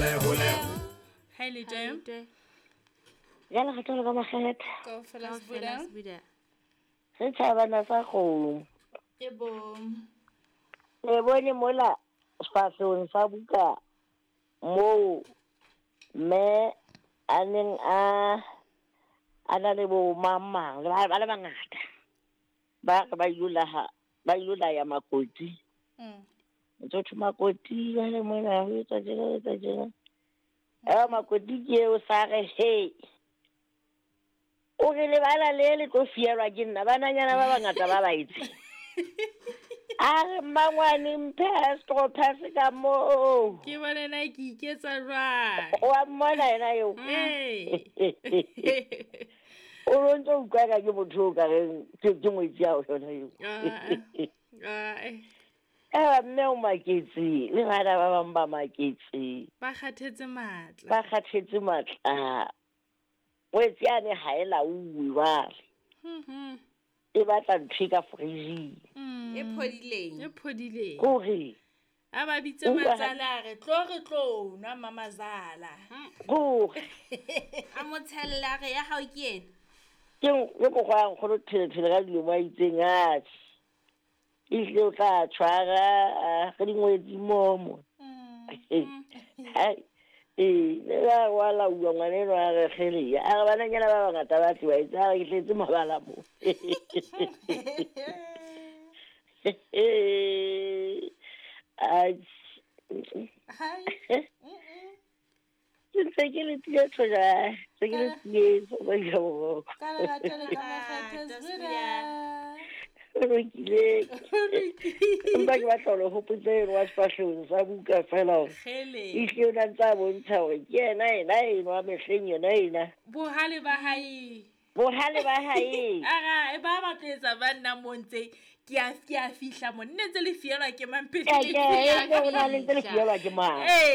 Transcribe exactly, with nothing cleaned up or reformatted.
Hole hole. Hi Lejwe. Ya le kgathala ka makgetha. Kaofela Kaofela Sbuda. Sbuda. Setjhabana sa kgomo. Ke bo. Le bone mola sefahlehong sa buka moo mme a neng a a na le bo mang mang le ba ba le bangata. Ba re ba ilo laha ba ilo laya makoti. Mm. Ntse thwe makoti ba le mona ho etsa tjena ho etsa tjena. Eh makoti ke eo sa re he. O re lebala le le tlo fielwa ke nna bananyana ba bangata ba ba etse. A re mmangwane mphe straw pass ka moo. Ke bone na ke iketsa jwang. Wa mmona yena eo. Ee. O lo ntso utlwa ka ke motho o ka reng ke ke ngwetsi ya ho yona eo. Ah, ah. Eh mme o maketse le bana ba bang ba maketse. Ba kgathetse matla. Ba kgathetse matla. Ngwetsi yane ha e lauwe jwale. Mhm. E batla ntho e ka fridge. Mm. E phodileng. E phodileng. Kore. A ba bitse Utlwa ha- matsala a re tlo re tlo nwa mamazala. Kore. A mo tshella re ya hao ke ena. Ke ke mokgwa wa nkgono thelethele ka dilemo a itseng atjhe. Ehlile o tla tshwara ah, re dingwetsi momo. Mm. Hai. Ee, le ba wa lauwa ngwana enwa a re kgele. A re bananyana ba bangata ba tliwa etse, a re ke tletse mabala mo. Atjhe. Hai. Ke ntse ke le tsietso jwale, ntse ke le tsietso ba ja boroko. Ka lerato le ka makgethe Ah, Sbuda. Ho lokile. Empa ke batla ho le hopotsa eno wa sefahlehong sa buka feela hore Kgele. ehlile o na ntse a bontsha hore ke yena ena enwa mehleng yona ena. Bohale ba hae. Bohale ba hae. Ara e ba ba tlo etsa ba nna mo ntse ke a ke a fihla mo nne ntse le fielwa ke mang pele Ke le ke fihla. e o na le ntse le fielwa ke mang. Ee.